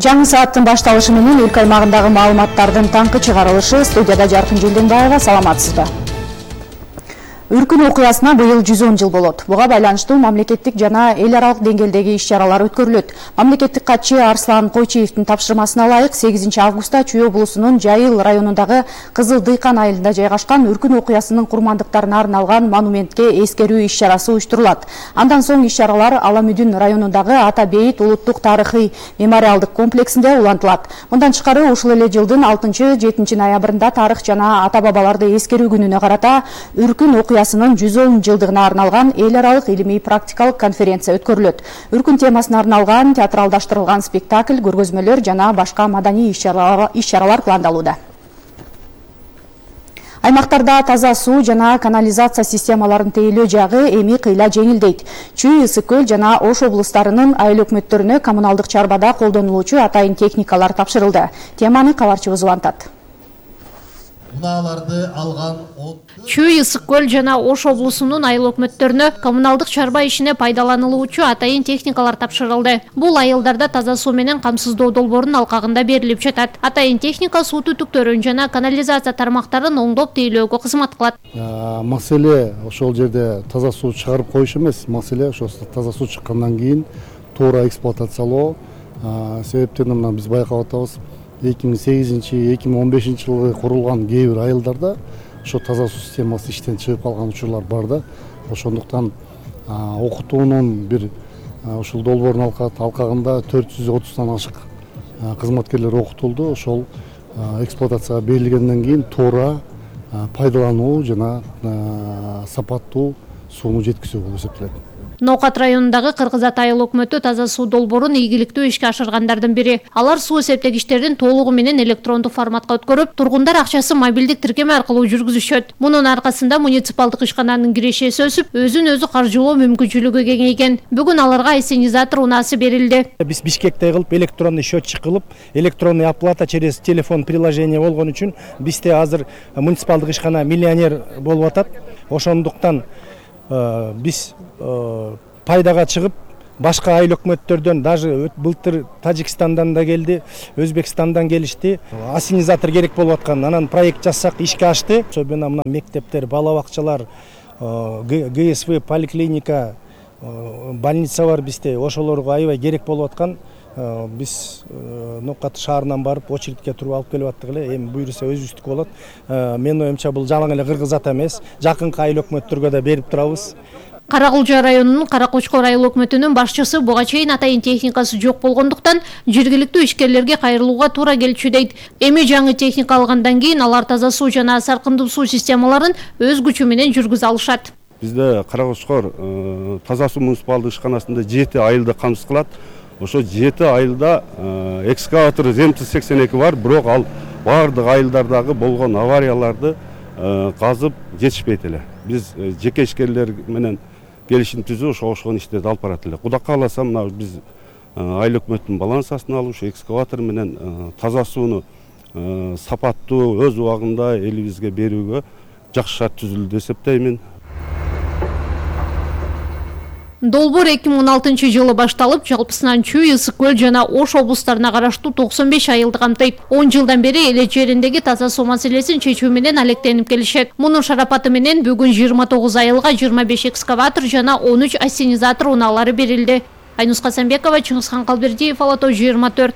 Жаңы сааттын башталышы менен өлкө аймагындагы маалыматтардын таңкы чыгарылышы. Студияда Жаркын Желденбаева, саламатсызбы? Үркүн окуясына быйыл 110 жыл болот. Буга байланыштуу мамлекеттик жана эл аралык деңгээлдеги иш-чаралар өткөрүлөт. Мамлекеттик катчы Арслан Койчиевдин тапшырмасына ылайык 8 августта Чүй облусунун Жайыл районундагы Кызыл Дыйкан айылында жайгашкан Үркүн окуясынын курмандыктарына арналган монументке эскерүү иш-чарасы уюштурулат. Андан соң иш-чаралар Аламүдүн районундагы Ата Бейит улуттук тарыхый мемориалдык комплексинде улантылат. Мындан тышкары ушул эле жылдын 6-7 ноябрында тарых жана ата бабаларды эскерүү күнүнө карата Үркүн окуясынын 110 жылдыгына арналган эл аралык илимий практикалык конференция өткөрүлөт. Үркүн темасына арналган театралдаштырылган спектакль, көргөзмөлөр жана башка маданий иш-чаралар пландалууда. Аймактарда таза суу жана канализация системаларын тейлөө жагы эми кыйла жеңилдейт. Чүй, Ысык көл жана Ош облустарынын айыл өкмөттөрүнө коммуналдык чарбада колдонулуучу атайын техникалар тапшырылды. Теманы кабарчыбыз улантат. Чүй, Ысык көл жана Ош облусунун айыл өкмөттөрүнө коммуналдык чарба ишине пайдаланылуучу атайын техникалар тапшырылды. Бул айылдарда таза суу менен камсыздоо долбоорунун алкагында берилип жатат. Атайын техника суу түтүктөрүн жана канализация тармактарын оңдоп тейлөөгө кызмат кылат. Маселе ошол жерде таза суу чыгарып коюш эмес, маселе ошо таза суу чыккандан кийин туура эксплуатациялоо. Себептен мына биз байкап атабыз, 2008-2015 жылы курулган кээ бир айылдарда ошо таза суу системасы иштен чыгып калган учурлар бар да. Ошондуктан окутуунун бир ушул долбоордун алкагында 430 ашык кызматкерлер окутулду. Ошол эксплуатацияга берилгенден кийин туура пайдалануу жана сапаттуу сууну жеткизүү болуп эсептелет. Ноокат районундагы Кыргыз Ата айыл өкмөтү таза суу долбоорун ийгиликтүү ишке ашыргандардын бири. Алар суу эсептегичтердин толугу менен электрондук форматка өткөрүп, тургундар акчасы мобилдик тиркеме аркылуу жүргүзүшөт. Мунун аркасында муниципалдык ишкананын кирешеси өсүп, өзүн өзү каржылоо мүмкүнчүлүгү кеңейген. Бүгүн аларга ассенизатор унаасы берилди. Биз Бишкекте кылып, электронный счетчик кылып, электронный оплата через телефон приложение болгон үчүн бизде азыр муниципалдык ишкана миллионер болуп атат. Ошондуктан биз пайдага чыгып, башка айыл өкмөттөрдөн, даже былтыр Тажикстандан да келди, Өзбекстандан келишти. Ассенизатор керек болуп аткан, анан проект жасак, ишке ашты. Особенно мына мектептер, бала бакчалар, ГСВ, поликлиника, больница бар бизде. Ошолорго аябай керек болуп аткан. Биз Ноокат шаарынан барып, очередке туруп алып келип аттык эле. Эми буйруса өзүбүздүк болот. Менин оюмча бул жалаң эле Кыргыз Ата эмес, жакынкы айыл өкмөттөргө да берип турабыз. Каракулча районунун Каракочкор айыл өкмөтүнүн башчысы буга чейин атайын техникасы жок болгондуктан жергиликтүү ишкерлерге кайрылууга туура келчү дейт. Эми жаңы техника алгандан кийин алар таза суу жана саркындуу суу системаларын өз күчү менен жүргүзө алышат. Бизде Каракочкор таза суу муниципалдык ишканасында 7 айылды камсыз кылат. Ошо 7 айылда экскаватор ЗМТ-82 бар, бирок ал бардык айылдардагы болгон аварияларды казып жетишпейт эле. Биз жеке ишкерлер менен келишим түзүп, ошол иштерди алып барат эле. Кудай кааласа, мына биз айыл өкмөттүн балансасына алып, экскаватор менен таза сууну сапаттуу өз убагында элибизге берүүгө жакшы шарт түзүлдү деп эсептеймин. Долбоор 2016 жылы башталып, жалпысынан Чүй, Ысык көл жана Ош облустарына караштуу 95 айылды камтыйт. 10 жылдан бери эл жериндеги таза суу маселесин чечүү менен алектенип келишет. Мунун шарапаты менен бүгүн 29 айылга 25 экскаватор жана 13 ассенизатор унаалары берилди. Айнус Касамбекова, Чыңгызхан Калбердиев, Ала Тоо 24.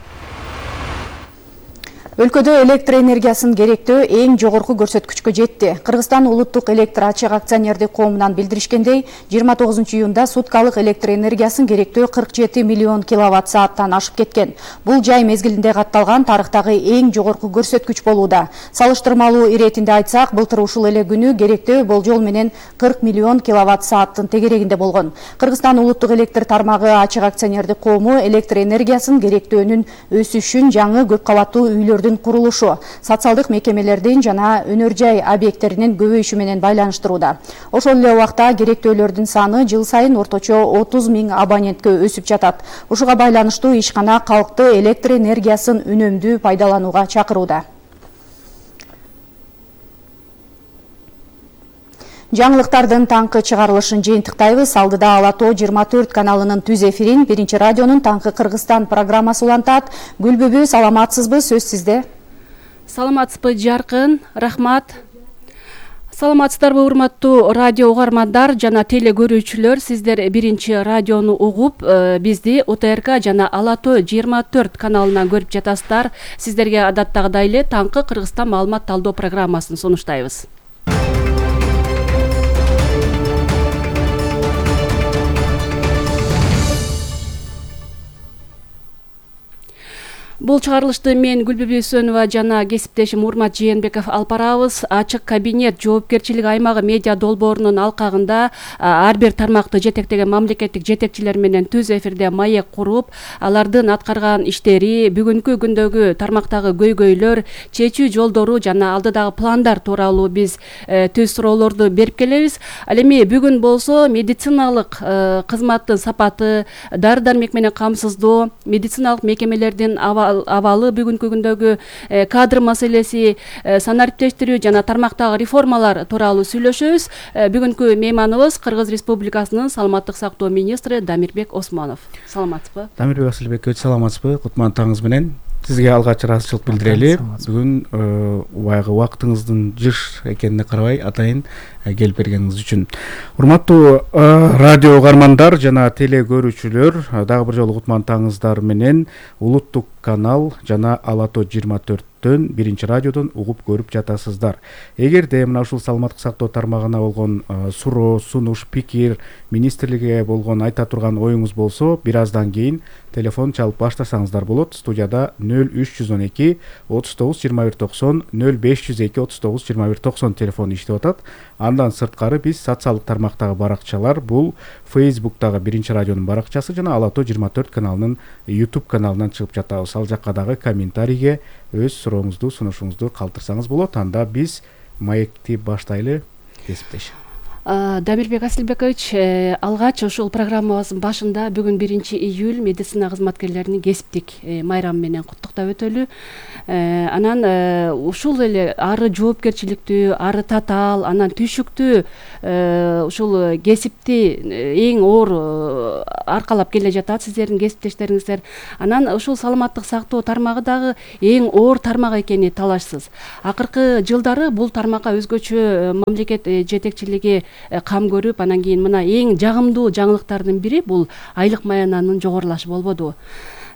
Өлкөдө электр энергиясын керектөө эң жогорку көрсөткүчкө жетти. Кыргызстан улуттук электр ачык акционердик коомунан билдиришкендей, 29 июнда суткалык электр энергиясын керектөө 47 миллион киловатт сааттан ашып кеткен. Бул жай мезгилинде катталган тарыхтагы эң жогорку көрсөткүч болууда. Салыштырмалуу иретинде айтсак, былтыр ушул эле күнү керектөө болжол менен 40 миллион киловатт сааттын тегерегинде болгон. Кыргызстан улуттук электр тармагы ачык акционердик коому электр энергиясын керектөөнүн өсүшүн жаңы көп кабаттуу үйлөрдүн курулушу, социалдык мекемелердин жана өнөр жай объекттеринин көбөйүшү менен байланыштырууда. Ошол эле убакта керектөөлөрдүн саны жыл сайын орточо 30 000 абонентке өсүп жатат. Ушуга байланыштуу ишкана калкты электр энергиясын үнөмдүү пайдаланууга чакырууда. Жаңылыктардын таңкы чыгарылышын жыйынтыктайбыз. Алдыда Ала-Тоо 24 каналынын түз эфирин Биринчи радионун Таңкы Кыргызстан программасы улантат. Гүлбүбү, саламатсызбы? Сөз сизде. Саламатсызбы, Жаркын, рахмат. Саламатсыздарбы, урматтуу радио угармандар жана теле көрүүчүлөр. Сиздер Биринчи радиону угуп, бизди УТРК жана Ала-Тоо 24 каналынан көрүп жатасыздар. Сиздерге адаттагыдай эле Таңкы Кыргызстан маалымат талдоо программасын сунуштайбыз. Бул чыгарылышты мен Гүлбүбү Өсөнова жана кесиптешим Урмат Жээнбеков алып барабыз. Ачык кабинет жоопкерчилик аймагы медиа долбоорунун алкагында ар бир тармакты жетектеген мамлекеттик жетекчилер менен түз эфирде маек куруп, алардын аткарган иштери, бүгүнкү күндөгү тармактагы көйгөйлөр, чечүү жолдору жана алдыдагы пландар тууралуу биз түз суроолорду берип келебиз. Ал эми бүгүн болсо медициналык кызматтын сапаты, дары-дармек менен камсыздоо, медициналык мекемелердин абалы, бүгүнкү күндөгү кадр маселеси, санариптештирүү жана тармактагы реформалар тууралуу сүйлөшөбүз. Бүгүнкү мейманыбыз Кыргыз Республикасынын саламаттык сактоо министри Дамирбек Осмонов. Саламатсызбы? Дамирбек Асылбекович, саламатсызбы? Кутман таңыңыз менен. Сизге алгач ыраазычылык билдирели. Бүгүн баягы убактыңыздын жыш экенине карабай атайын келип бергениңиз үчүн. Урматтуу радио угармандар жана теле көрүүчүлөр, дагы бир жолу кутман таңыңыздар менен улуттук канал жана Ала-Тоо 24-төн Биринчи радиодон угуп көрүп жатасыздар. Эгерде мына ушул саламаттык сактоо тармагына болгон суроо, сунуш, пикир, министрликке болгон айта турган оюңуз болсо, бир аздан кийин телефон чалып баштасаңыздар болот. Студияда 0312 39 21 90, 0502 39 21 90 телефон иштеп атат. Андан сырткары биз социалдык тармактагы баракчалар, бул Facebook'тагы Биринчи радионун баракчасы жана Ала-Тоо 24 каналынын YouTube каналынан чыгып жатабыз. Ал жакка дагы комментарийге өз сурооңузду, сунушуңузду калтырсаңыз болот. Анда биз маекти баштайлы, кесиптеш. Дамирбек Асылбекович, алгач ушул программабыздын башында бүгүн 1-июль медицина кызматкерлеринин кесиптик майрамы менен куттуктап өтөлү. Анан ушул эле ары жоопкерчиликтүү, ары татаал, анан түйшүктүү ушул кесипти эң оор аркалап келе жатат сиздердин кесиптештериңиздер. Анан ушул саламаттык сактоо тармагы дагы эң оор тармак экени талашсыз. Акыркы жылдары бул тармакка өзгөчө мамлекет жетекчилиги кам көрүп, анан кийин мына эң жагымдуу жаңылыктардын бири бул айлык маянанын жогорулашы болбоду.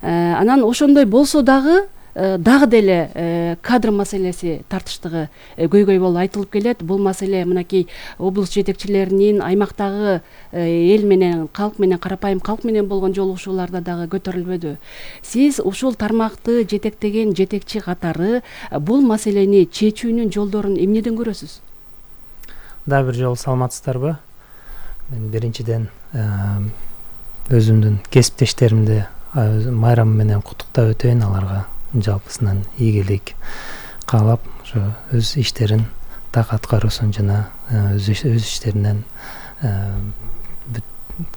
Анан ошондой болсо дагы деле кадр маселеси тартыштыгы көйгөй болуп айтылып келет. Бул маселе мынакей облус жетекчилеринин аймактагы эл менен, калк менен, карапайым калк менен болгон жолугушууларда дагы көтөрүлбөдү. Сиз ушул тармакты жетектеген жетекчи катары бул маселени чечүүнүн жолдорун эмнеден көрөсүз? Дагы бир жолу саламатсыздарбы? Мен биринчиден өзүмдүн кесиптештеримди майрамы менен куттуктап өтөйүн, аларга жалпысынан ийгилик каалап, ошо өз иштерин так аткаруусун жана өз иштеринен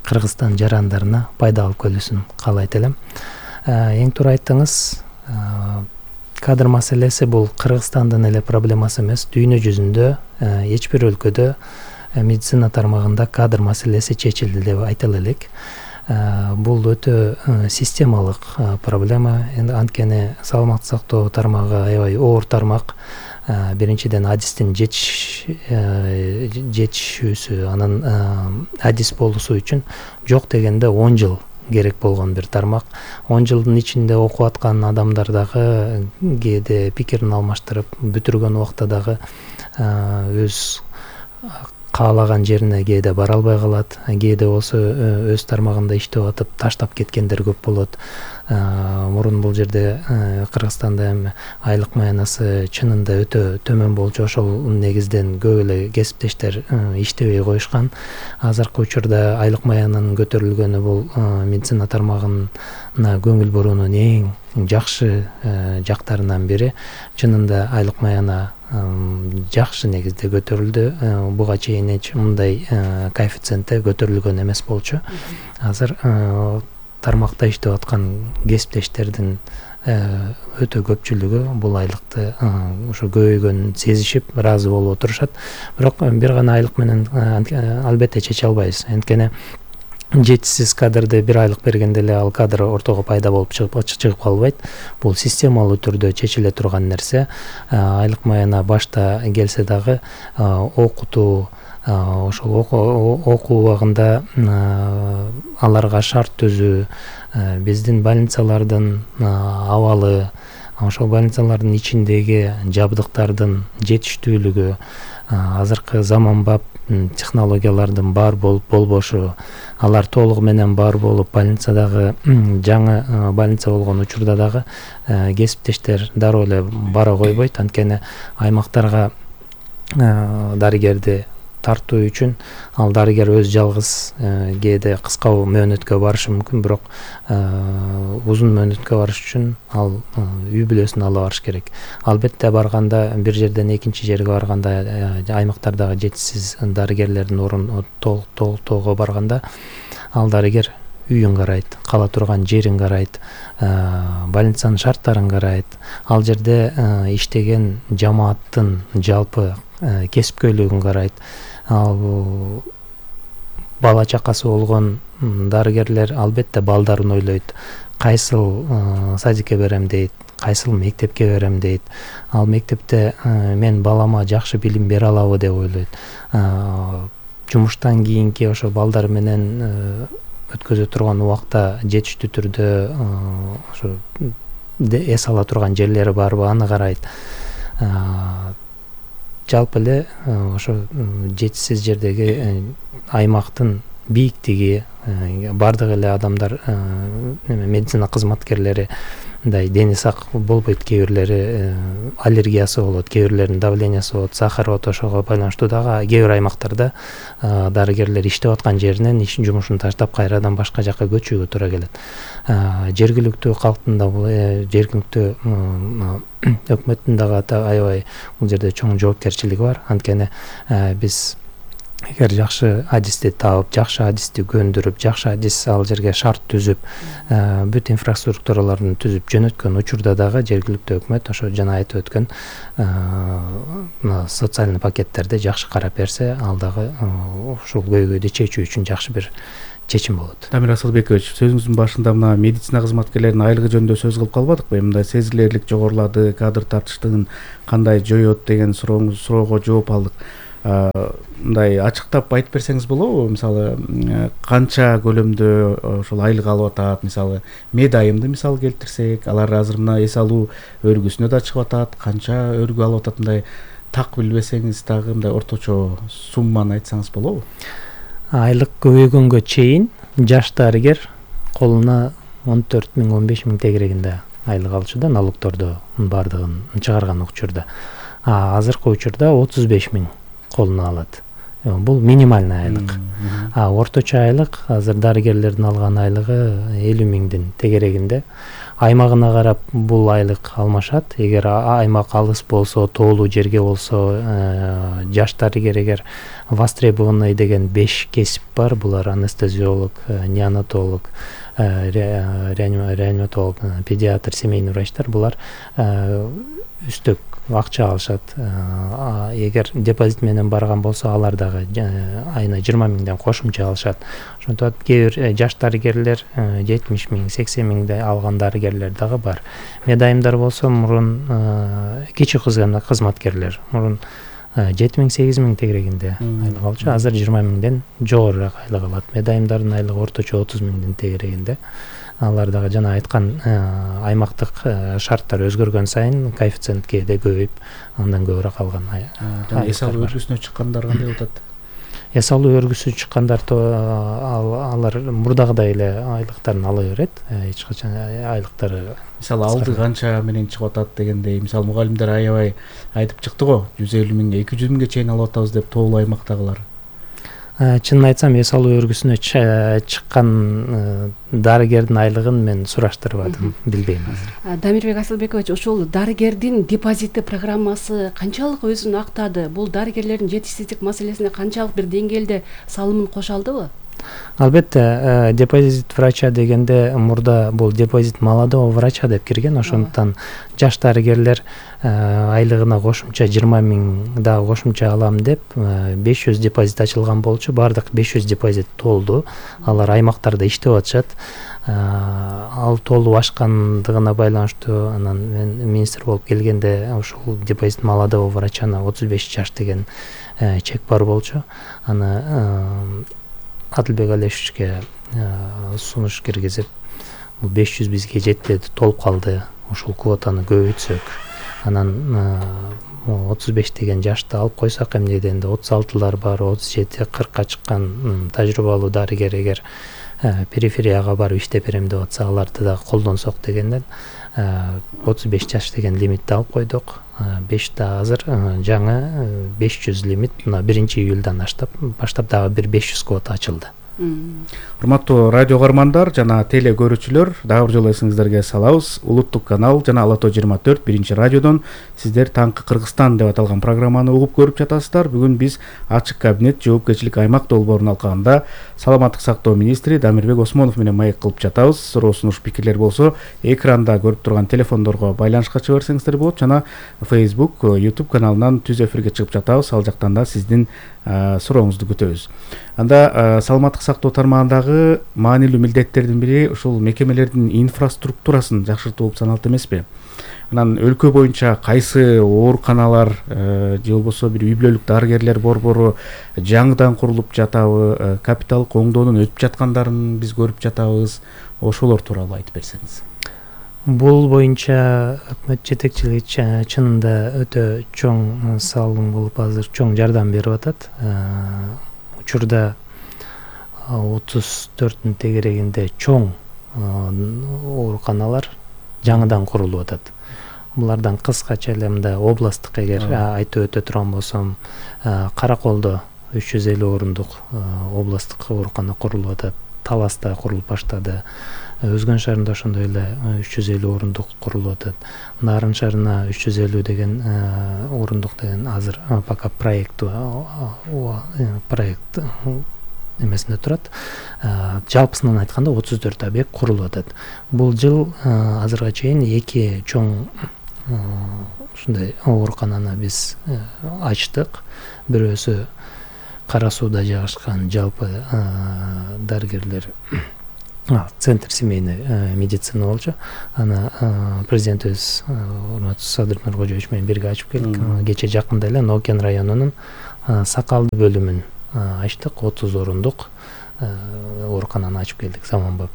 Кыргызстан жарандарына пайда алып келүүсүн каалайт элем. Эң туура айттыңыз. Кадр маселеси бул Кыргызстандын эле проблемасы эмес, дүйнө жүзүндө эч бир өлкөдө медицина тармагында кадр маселеси чечилди деп айта элек. Бул өтө системалык проблема. Анткени саламаттык сактоо тармагы аябай оор тармак. Биринчиден адистин жетишүүсү, анан адис болуусу үчүн жок дегенде 10 жыл керек болгон бир тармак. 10 жылдын ичинде окуп аткан адамдар дагы кээде пикирин алмаштырып, бүтүргөн убакта дагы өз каалаган жерине кээде бара албай калат. Кээде болсо өз тармагында иштеп атып таштап кеткендер көп болот. Мурун бул жерде Кыргызстанда эми айлык маянасы чынында өтө төмөн болчу. Ошол негизден көп эле кесиптештер иштебей коюшкан. Азыркы учурда айлык маянанын көтөрүлгөнү бул медицина тармагына көңүл буруунун эң жакшы жактарынан бири. Чынында айлык маяна жакшы негизде көтөрүлдү. Буга чейин мындай коэффициентте көтөрүлгөн эмес болчу. Азыр тармакта иштеп аткан кесиптештердин өтө көпчүлүгү бул айлыкты ошо көбөйгөнүн сезишип ыраазы болуп отурушат. Бирок бир гана айлык менен албетте чече албайбыз. Анткени жетишсиз кадрды бир айлык бергенде эле ал кадр ортого пайда болуп чыгып калбайт. Бул системалуу түрдө чечиле турган нерсе. Айлык майына башта келсе дагы окутуу, ошол окуу убагында аларга шарт түзүү, биздин больницалардын абалы, ошол больницалардын ичиндеги жабдыктардын жетиштүүлүгү, азыркы заманбап технологиялардын бар болбошу, алар толугу менен бар болуп, больницадагы жаңы больница болгон учурда дагы кесиптештер дароо эле бара койбойт. Анткени аймактарга дарыгерди тартуу үчүн ал дарыгер өз жалгыз кээде кыска мөөнөткө барышы мүмкүн, бирок узун мөөнөткө барыш үчүн ал үй бүлөсүн ала барыш керек. Албетте барганда, бир жерден экинчи жерге барганда, аймактардагы жетишсиз дарыгерлердин орун толуктоого барганда, ал дарыгер үйүн карайт, кала турган жерин карайт, больницанын шарттарын карайт, ал жерде иштеген жамааттын жалпы кесипкөйлүгүн карайт. Ал бала чакасы болгон дарыгерлер албетте балдарын ойлойт. Кайсыл садикке берем дейт, кайсыл мектепке берем дейт. Ал мектепте мен балама жакшы билим бере алабы деп ойлойт. Жумуштан кийинки ошо балдар менен өткөзө турган убакта жетиштүү түрдө ошо эс ала турган жерлери барбы, аны карайт. Жалпы эле ошо жетишсиз жердеги аймактын бийиктиги, бардык эле адамдар, медицина кызматкерлери мындай дени сак болбойт, кээ бирлери аллергиясы болот, кээ бирлеринин давлениясы болот, сахары болот. Ошого байланыштуу дагы кээ бир аймактарда дарыгерлер иштеп аткан жеринен жумушун таштап кайрадан башка жакка көчүүгө туура келет. Жергиликтүү калктын да, жергиликтүү өкмөттүн дагы аябай бул жерде чоң жоопкерчилиги бар. Анткени биз эгер жакшы адисти таап, жакшы адисти көндүрүп, жакшы адис ал жерге шарт түзүп, бүт инфраструктураларын түзүп жөнөткөн учурда дагы жергиликтүү өкмөт ошо жана айтып өткөн социальный пакеттерди жакшы карап берсе, ал дагы ушул көйгөйдү чечүү үчүн жакшы бир чечим болот. Дамир Асылбекович, сөзүңүздүн башында мына медицина кызматкерлеринин айлыгы жөнүндө сөз кылып калбадыкпы? Мындай сезилерлик жогорулады, кадр тартыштыгын кандай жоет деген суроого жооп алдык. Мындай ачыктап айтып берсеңиз болобу? Мисалы, канча көлөмдө ошол айлык алып атат? Мисалы, медайымды мисал келтирсек, алар азыр мына эс алуу өргүсүнө да чыгып атат, канча өргү алып атат? Мындай так билбесеңиз дагы мындай орточо сумманы айтсаңыз болобу? Айлык көбөйгөнгө чейин жаш дарыгер колуна 14 000, 15 000 тегерегинде айлык алчу да, налогторду бардыгын чыгарган учурда. Азыркы учурда 35 000 колуна алат. Бул минимальный айлык. Орточо айлык азыр дарыгерлердин алган айлыгы 50 000 тегерегинде. Аймагына карап бул айлык алмашат. Эгер аймак алыс болсо, тоолуу жерге болсо, жаш дарыгер эгер востребованный деген 5 кесип бар. Булар анестезиолог, неонатолог, реаниматолог, педиатр, семейный врачтар. Булар үстөк акча алышат. Эгер депозит менен барган болсо, алар дагы айына 20 000 кошумча алышат. Ошондо кээ бир жаш дарыгерлер 70 000, 80 000 алган дарыгерлер дагы бар. Медайымдар болсо, мурун кичи кызматкерлер мурун 7 000, 8 000 тегерегинде айлык алчу, азыр 20 000 жогорураак айлык алат. Медайымдардын айлыгы орточо 30 000 тегерегинде. Алар дагы жана айткан аймактык шарттар өзгөргөн сайын коэффициент кээде көбөйүп, андан көбүрөөк алган. Эс алуу өргүсүнө чыккандар кандай болуп атат? Эс алуу өргүсү чыккандар алар мурдагыдай эле айлыктарын ала берет. Эч качан айлыктары мисалы алды канча менен чыгып атат дегендей, мисалы мугалимдер аябай айтып чыкты го, 150 000, 200 000 чейин алып атабыз деп, тоолуу аймактагылар. Чынын айтсам, эс алуу өргүсүнө чыккан дарыгердин айлыгын мен сураштырбадым, билбейм азыр. Дамирбек Асылбекович, ошол дарыгердин депозиты программасы канчалык өзүн актады? Бул дарыгерлердин жетишсиздик маселесине канчалык бир деңгээлде салымын кошо алдыбы? Албетте, депозит врача дегенде мурда бул депозит молодого врача деп кирген, ошондуктан жаш дарыгерлер айлыгына кошумча 20 000 дагы кошумча алам деп 500 депозит ачылган болчу. Бардык 500 депозит толду. Алар аймактарда иштеп атышат. Ал толуп ашкандыгына байланыштуу анан мен министр болуп келгенде ушул депозит молодого врачана 35 жаш деген чек бар болчу. Аны Адылбек Алешевичке сунуш киргизип, бул 500 бизге жетпеди, толуп калды. Ушул квотаны көбөйтсөк, анан 35 деген жашты алып койсок, эмне дегенде 36-лар бар, 37-40ка чыккан тажрыйбалуу дарыгер эгер периферияга барып иштеп берем деп атса, аларды да колдонсок дегенден 35 жаш деген лимитти алып койдук. 5 да азыр жаңы 500 лимит мына 1-июлдан баштап дагы бир 500 квота ачылды. Урматтуу радио көрөрмандар жана теле көрүүчүлөр, дагы бир жолу эсиңиздерге салабыз. Улуттук канал жана Ала Тоо 24 биринчи радиодон сиздер Таңкы Кыргызстан деп аталган программаны угуп көрүп жатасыздар. Бүгүн биз ачык кабинет жоопкерчилик аймак долбоорунун алкагында саламаттык сактоо министри Дамирбек Осмонов менен маек кылып жатабыз. Суроо сунуш пикирлер болсо экранда көрүп турган телефондорго байланышка чыга берсеңиздер болот, жана Facebook, YouTube каналынан түз эфирге чыгып жатабыз. Ал жактан да сиздин сурооңузду күтөбүз. Анда саламаттык сактоо тармагындагы маанилүү милдеттердин бири ушул мекемелердин инфраструктурасын жакшыртуу болуп саналат эмеспи? Анан өлкө боюнча кайсы ооруканалар же болбосо бир үй-бүлөлүк дарыгерлер борбору жаңыдан курулуп жатабы, капиталдык оңдоодон өтүп жаткандарын биз көрүп жатабыз. Ошолор тууралуу айтып берсеңиз. Бул боюнча өкмөт жетекчилиги чынында өтө чоң салым кылып азыр чоң жардам берип атат. Учурда 34-тün тегерегинде чоң ооруканалар жаңыдан курулуп атат. Булардан кыскача эле мында областтык эгер айтып өтө турган болсом, Караколдо 350 орундук областтык оорукана курулуп атат. Таласта курулуп баштады. Өзгөн шаарында ошондой эле 350 орундук курулуп атат. Нарын шаарына 350 деген орундук деген азыр пока проект эмесинде турат. Жалпысынан айтканда 34 объект курулуп атат. Бул жыл азырга чейин 2 чоң ушундай оорукананы биз ачтык. Бирөөсү Кара сууда жайгашкан жалпы дарыгерлер центр семейный медицина болчу. Аны президентибиз урматтуу Садыр Нуркожоевич менен бирге ачып келдик. Кече жакында эле Нокен районунун Сакалды бөлүмүн ачтык. 30 орундук оорукананы ачып келдик, заманбап.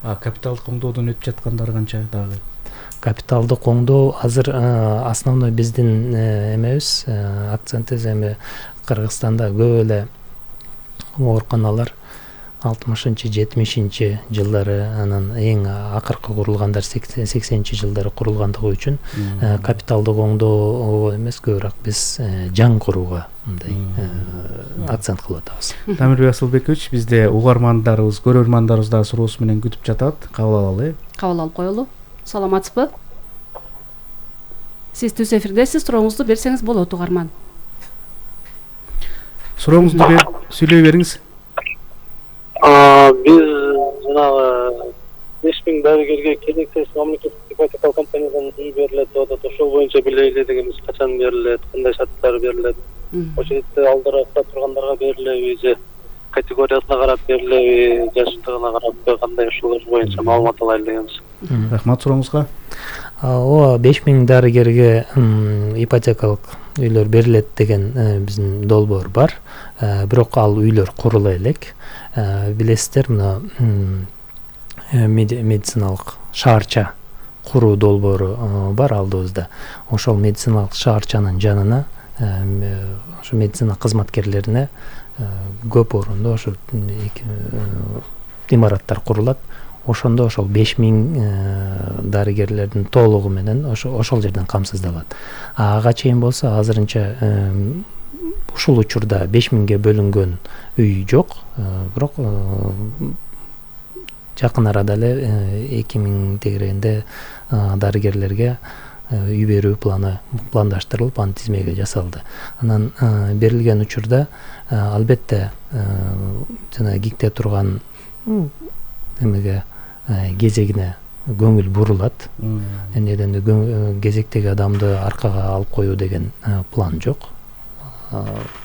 Капиталдык оңдоодон өтүп жаткандар канча дагы? Капиталдык оңдоо азыр основной биздин эмебиз, акцентибиз эми Кыргызстанда көп эле ооруканалар 60-70 жылдары, анан эң акыркы курулгандар 80 жылдары курулгандыгы үчүн капиталдык оңдоо эмес, көбүрөөк биз жаңы курууга мындай акцент кылып атабыз. Дамирбек Асылбекович, бизде угармандарыбыз, көрөрмандарыбыз да суроосу менен күтүп жатат. Кабыл алалы. Кабыл алып коелу. Саламатсызбы? Сиз түз эфирдесиз, сурооңузду берсеңиз болот, угарман. Сурооңузду берип сүйлөй бериңиз. Биз жанагы 5000 дарыгерге келексиз мамлекеттик ипотекалык компаниядан үй берилет деп атат. Ошол боюнча билели дегенбиз, качан берилет, кандай шарттар берилет? Ошол жерде алдаракта тургандарга берилеби же категориясына карап берилеби, жаштыгына карап кандай, ошолор боюнча маалымат алайлы дегенбиз. Рахмат сурооңузга. Ооба, 5000 дарыгерге ипотекалык үйлөр берилет деген биздин долбоор бар. Бирок ал үйлөр курула элек. Билесиздер, мына медициналык шаарча куруу долбоору бар алдыбызда. Ошол медициналык шаарчанын жанына ошо медицина кызматкерлерине көп орунду ошо имараттар курулат. Ошондо ошол 5000 дарыгерлердин толугу менен ошол жерден камсыздалат. Ага чейин болсо азырынча ушул учурда 5000ге бөлүнгөн үй жок, бирок жакын арада эле 2000 тегерегинде дарыгерлерге үй берүү пландаштырылып анын тизмеге жасалды. Анан берилген учурда албетте жана гикте турган эмеге кезегине көңүл бурулат. Эмнеден кезектеги адамды аркага алып коюу деген план жок.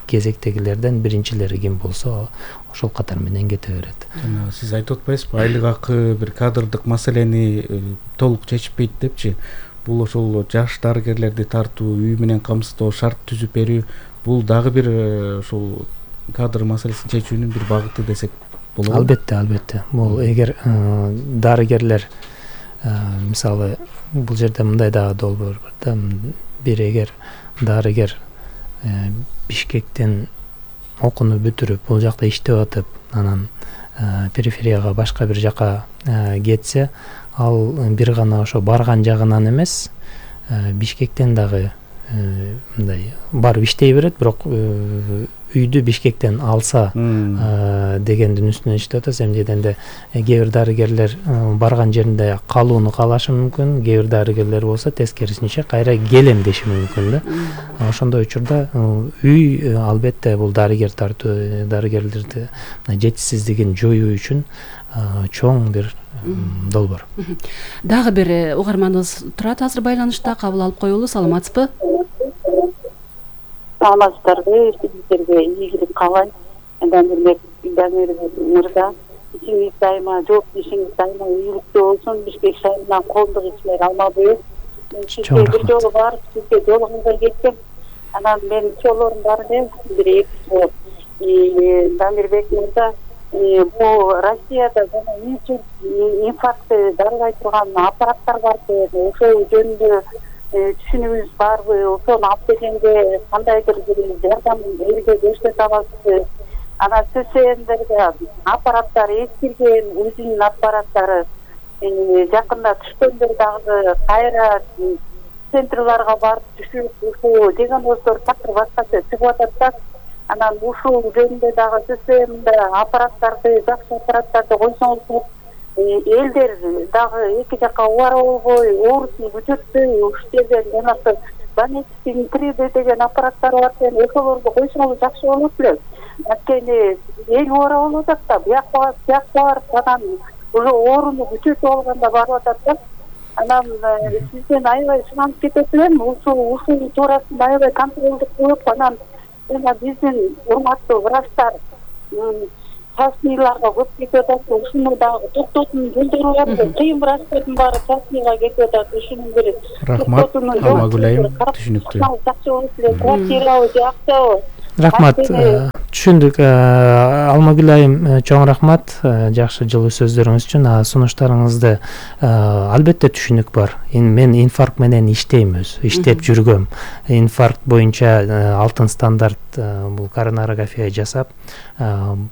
Кезектегилерден биринчилери ким болсо ошол катар менен кете берет. Сиз айтып атпайсызбы, айлык акы бир кадрдык маселени толук чечпейт депчи? Бул ошол жаш дарыгерлерди тартуу, үй менен камсыздоо, шарт түзүп берүү, бул дагы бир ошол кадр маселесин чечүүнүн бир багыты десек болобу? Албетте. Бул эгер дарыгерлер мисалы бул жерде мындай дагы долбоор бар да. Бир эгер дарыгер Бишкектен окууну бүтүрүп бул жакта иштеп атып, анан периферияга башка бир жака кетсе, ал бир гана ошо барган жагынан эмес, Бишкектен дагы мындай барып иштей берет, бирок үйдү Бишкектен алса дегендин үстүнөн иштеп атат. Эмнеденде кээ бир дарыгерлер барган жеринде калууну каалашы мүмкүн, кээ бир дарыгерлер болсо тескерисинче кайра келем деши мүмкүн да. Ошондой учурда үй албетте бул дарыгерлерди жетишсиздигин жоюу үчүн чоң бир долбоор. Дагы бир угарманыбыз турат азыр байланышта, кабыл алып коелу. Саламатсызбы? Саламатсыздарбы, сиздерге ийгилик каалайм. Дамир мырза, ишиңиз дайыма, жоопкерчилигиңиз дайыма ийгиликтүү болсун. Бишкек шаарынан коомдук ишмер Алмабек. Сизге бир жолу барып, сизге жолугуңузга кеткем. Анан менин чоолорум бар эле, бир эки Дамирбек мырза, бул Россияда жана инфарктты дарылай турган аппараттар бар деп, ошол жөнүндө түшүнүгүңүз барбы? Ошону алып келгенде кандайдыр бир жардам элге көрсөтө аласызбы? Анан ССНдерде аппараттар эскирген, өзүнүн аппараттары жакында түшкөндөр дагы кайра центрларга барып түшүп, ушул диагноздор такыр башкача чыгып атат да. Анан ушул жөнүндө дагы ССНде аппараттарды, жакшы аппараттарды койсоңуз, элдер дагы эки жакка убара болбой, оорусун көчөртпөй, ушул жерден жанагы Банетиктин 3D деген аппараттар бар экен, ошолорду койсоңуз жакшы болот эле. Анткени эл убара болуп атат да, бияка барып, анан уже ооруну көчөртүп алганда барып атат да. Анан сизден аябай сунанып кетет элем, ушул туурасында аябай контролдук кылып, анан жана биздин урматтуу врачтар частныйларга көп кетип атат, ушуну дагы токтотуунун жолдору бар. Кыйын врачтардын баары частныйга кетип атат, ушунун бир рахмат, Алмагүлайым, түшүнүктүү. Жакшы болуп эле, квартирабы же акчабы? Рахмат, түшүндүк. Алмагүлайым, чоң рахмат жакшы жылуу сөздөрүңүз үчүн. Сунуштарыңызды албетте түшүнүк бар. Мен инфаркт менен иштейм, иштеп жүргөм. Инфаркт боюнча алтын стандарт бул коронарография жасап,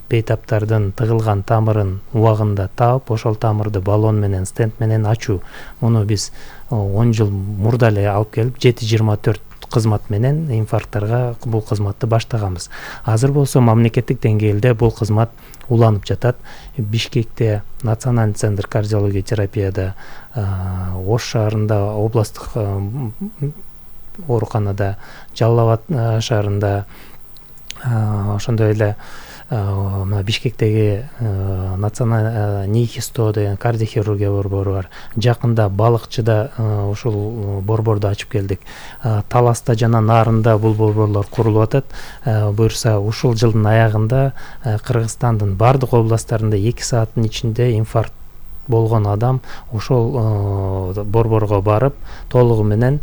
бейтаптардын тыгылган тамырын убагында таап, ошол тамырды баллон менен, стенд менен ачуу. Муну биз 10 жыл мурда эле алып келип 724 кызмат менен инфаркттарга бул кызматты баштаганбыз. Азыр болсо мамлекеттик деңгээлде бул кызмат уланып жатат. Бишкекте Национальный центр кардиология терапияда, Ош шаарында областтык ооруканада, Жалал Абад шаарында, ошондой эле Бишкектеги националдык НИХИСТО деген кардиохирургия борбору бар. Жакында Балыкчыда ушул борборду ачып келдик. Таласта жана Нарында бул борборлор курулуп атат. Буюрса ушул жылдын аягында Кыргызстандын бардык областтарында 2 сааттын ичинде инфаркт болгон адам ошол борборго барып, толугу менен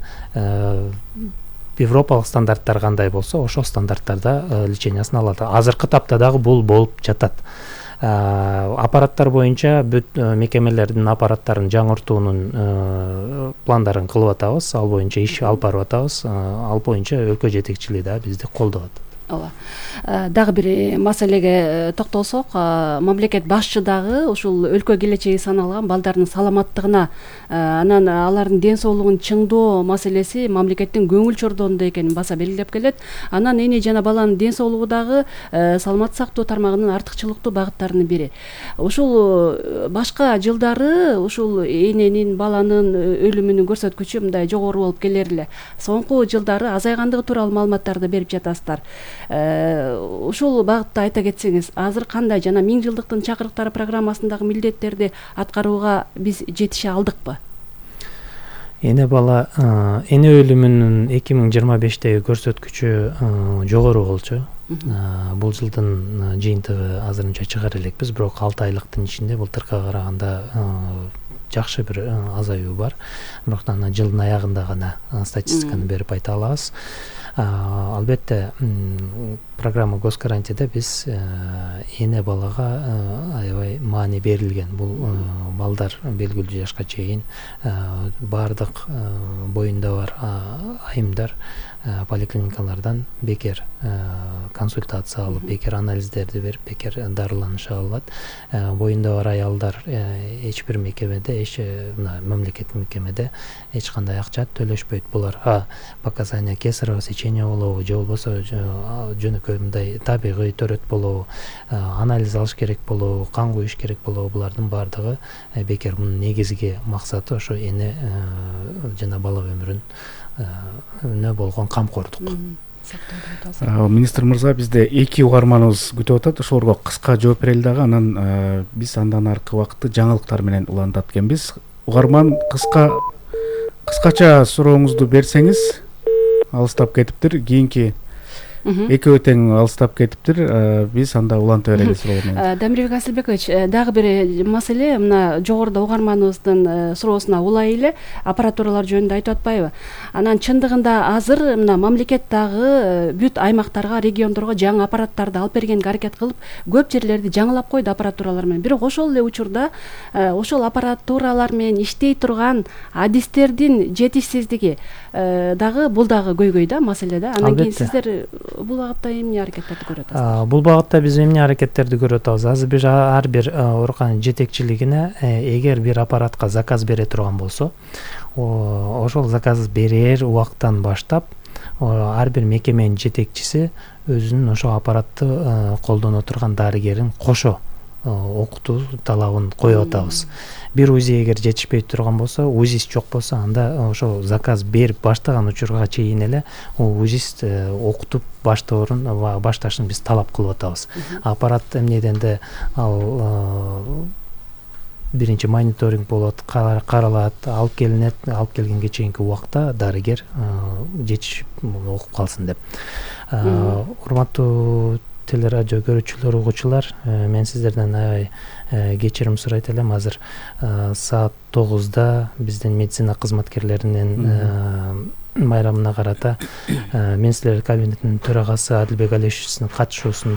Европалык стандарттар кандай болсо, ошол стандарттарда лечениясын алат. Азыркы тапта дагы бул болуп жатат. Аппараттар боюнча бүт мекемелердин аппараттарын жаңыртуунун пландарын кылып атабыз, ал боюнча иш алып барып атабыз, ал боюнча өлкө жетекчилиги да бизди колдоп атат. ооба. Дагы бир маселеге токтолсок, мамлекет башчы дагы ушул өлкө келечеги саналган балдардын саламаттыгына, анан алардын ден соолугун чыңдоо маселеси мамлекеттин көңүл чордоонунда экенин баса белгилеп келет. Анан эне жана баланын ден соолугу дагы саламаттык сактоо тармагынын артыкчылыктуу багыттарынын бири. Ушул башка жылдары ушул эненин, баланын өлүмүнүн көрсөткүчү мындай жогору болуп келер эле. Соңку жылдары азайгандыгы тууралуу маалыматтарды берип жатасыздар. Ушул багытта айта кетсеңиз, азыр кандай жана 1000 жылдыктын чакырыктары программасындагы милдеттерди аткарууга биз жетише алдыкпы? Эне бала эне өлүмүнүн 2025-теги көрсөткүчү жогору болчу. Бул жылдын жыйынтыгы азырынча чыгар элекпиз, бирок 6 айлыктын ичинде былтыркыга караганда жакшы бир азаюу бар. Бирок анан жылдын аягында гана статистиканы берип айта алабыз. Албетте программа Госгарантияда биз эне балага аябай маани берилген. Бул балдар белгилүү жашка чейин баардык боюнда бар айымдар поликлиникалардан бекер консультация алып, бекер анализдерди берип, бекер дарыланыша алат. Боюнда бар аялдар эч бир мекемеде, мамлекеттик мекемеде эч кандай акча төлөшпөйт. Булар показания кесарево сечение болобу, же болбосо жөнөкөй мындай табигый төрөт болобу, анализ алыш керек болобу, кан куюш керек болобу, булардын баардыгы бекер. Мунун негизги максаты ошо эне жана бала өмүрүнө болгон камкордук. Министр мырза, бизде 2 угарманыбыз күтүп атат. Ошолорго кыска жооп берели дагы, анан биз андан аркы убакытты жаңылыктар менен улантат экенбиз. Угарман, кыскача сурооңузду берсеңиз. Алыстап кетиптир, кийинки экөө тең алыстап кетиптир. Биз анда уланта берели суроолорду. Дамирбек Асылбекович, дагы бир маселе, мына жогоруда угарманыбыздын суроосуна улай эле аппаратуралар жөнүндө айтып атпайбы? Анан чындыгында азыр мына мамлекет дагы бүт аймактарга, региондорго жаңы аппараттарды алып бергенге аракет кылып, көп жерлерди жаңылап койду аппаратуралар менен. Бирок ошол эле учурда ошол аппаратуралар менен иштей турган адистердин жетишсиздиги дагы бул дагы көйгөй да, маселе да. Анан кийин сиздер бул багытта эмне аракеттерди көрүп атасыздар? Бул багытта биз эмне аракеттерди көрүп атабыз? Азыр биз ар бир ооруканын жетекчилигине эгер бир аппаратка заказ бере турган болсо, ошол заказ берер убактан баштап ар бир мекеменин жетекчиси өзүнүн ошол аппаратты колдоно турган дарыгерин кошо окутуу талабын коюп атабыз. Бир УЗИ эгер жетишпей турган болсо, УЗИст жок болсо, анда ошол заказ берип баштаган учурга чейин эле УЗИст окутуп башташын биз талап кылып атабыз. Аппарат эмнеденде ал биринчи мониторинг болот, каралат, алып келинет, алып келгенге чейинки убакта дарыгер жетишип окуп калсын деп. Урматтуу телерадио көрүүчүлөр, угуучулар, мен сиздерден аябай кечирим сурайт элем. Азыр саат 9-да биздин медицина кызматкерлеринин майрамына карата мен силер кабинетинин төрагасы Адилбек Алишевичтин катышуусунда